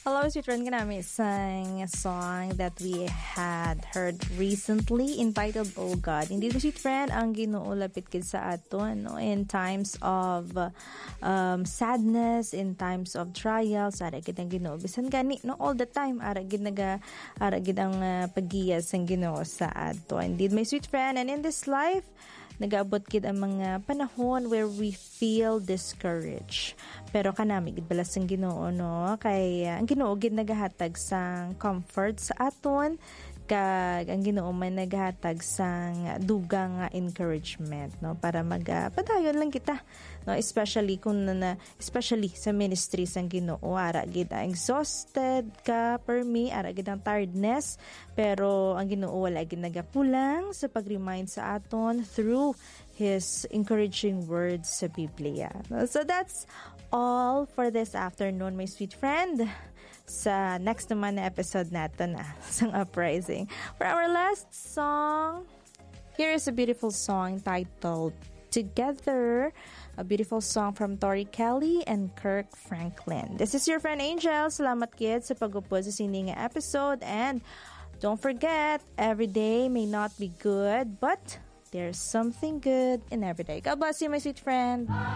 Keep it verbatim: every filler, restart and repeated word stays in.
Hello, sweet friend, kanami sang song that we had heard recently entitled Oh God. Hindi ko, sweet friend, ang Ginoo lapit gid sa aton, no? In times of um, sadness, in times of trials, ara gid ang Ginoo. Bisan gani, no, all the time, ara gid naga, ara gid ang uh, paggiya sang Ginoo sa aton. Indeed, my sweet friend, and in this life, nagaabot gid ang mga panahon where we feel discouraged. Pero kanami gid bala sang Ginoo, no? Kay uh, ang Ginoo gid nagahatag sang comfort sa aton, kag ang Ginoo man nagahatag sang dugang nga encouragement, no? Para mag uh, padayon lang kita, no? Especially kung na, especially sa ministry sang Ginoo, ara gid ang exhausted ka, permi, ara gid ang tiredness, pero ang Ginoo wala gid nagakulang sa pag-remind sa aton through His encouraging words sa Biblia. So that's all for this afternoon, my sweet friend. Sa next naman na episode nato na sang Uprising. For our last song, here is a beautiful song titled Together, a beautiful song from Tori Kelly and Kirk Franklin. This is your friend Angel. Salamat gid sa pag-upod sa sini nga episode, and don't forget, every day may not be good, but there's something good in every day. God bless you, my sweet friend.